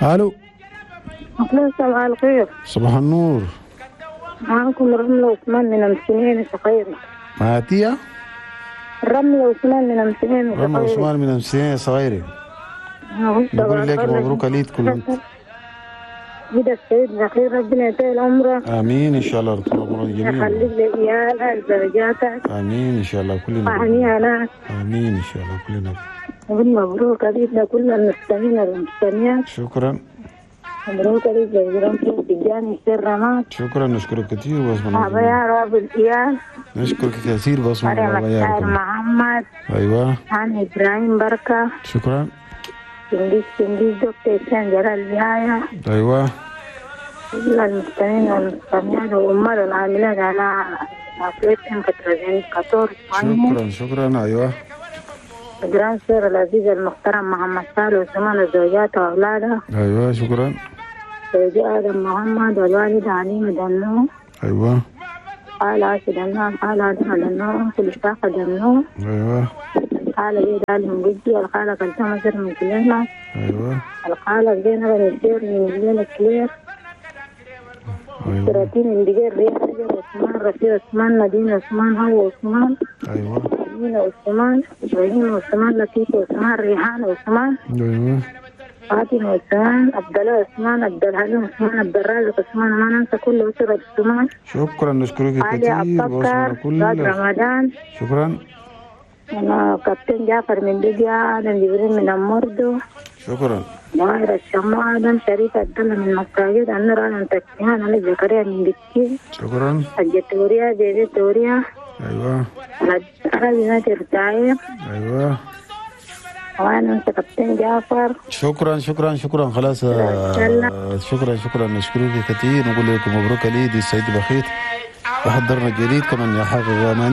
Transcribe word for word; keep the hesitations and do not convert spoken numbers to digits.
الو. صباح الخير. صباح النور. معاكم رملة عثمان من أمسنين صغيرة. معاتية؟ رملة عثمان من أمسنين رملة عثمان من أمسنين صغيرة. نقول لك مبروك عليك كل انت. كده السيد بخير، ربنا يطول عمرك. امين ان شاء الله، طول عمرك جميعا. يخليك لعيالك زوجاتك. امين ان شاء الله كلنا. وهنيئا. امين ان شاء الله كلنا. مبروك علينا كل المستمعين والمستمعات. شكرا. مبروك عليك جزيران تجاني السر. شكرا، نشكرك كثير بس. يا رب العيال. نشكرك كثير بس. مريم محمد. ايوه. عن ابراهيم بركة. شكرا. سنديس سنديس دكتور إسلام جلال بهاية. ايوه. كل المستمعين والمستمعات والأمال العاملات على عقليتهم كتر. شكرا شكرا. ايوه. جران سير العزيز المحترم محمد صالح وثمان زوجاته وأولاده. ايوه شكرا. زوجي آدم محمد والوالدة عليمة دنو. ايوه. قال عاشر دنو، قال آدم دنو، كل شاقة دنو. ايوه. الخالة بيد علي من جدي، الخالة كلثوم سر من كليمة. ايوه. الخالة زينب السير من الليلة كلير. ايوه. سراتين من دجير رياض عثمان رفيع عثمان مدينة عثمان هو عثمان. ايوه. أمينة عثمان إبراهيم عثمان لطيفة عثمان ريحان عثمان. ايوه. فاطمة عثمان عبد الله عثمان عبد الحليم عثمان عبد الرازق عثمان، ما ننسى كل أسرة عثمان. شكرا، نشكرك علي كثير أبو بكر كل رمضان. شكرا. أنا كابتن جعفر من ليبيا، آدم جبريل من أموردو. شكرا. ماهر الشماعة، آدم شريف عبد الله من مساجد، النور آدم تكيان، أنا زكريا من بكين. شكرا. الجتورية بيبي توريا. ايوه. أنا نادر تايب. ايوه. وأنا أنت كابتن جعفر. شكرا شكرا شكرا. خلاص آه، شكرا شكرا، نشكرك كثير، نقول لكم مبروك العيد السيد بخيت وحضرنا الجديد كمان يا حافظ.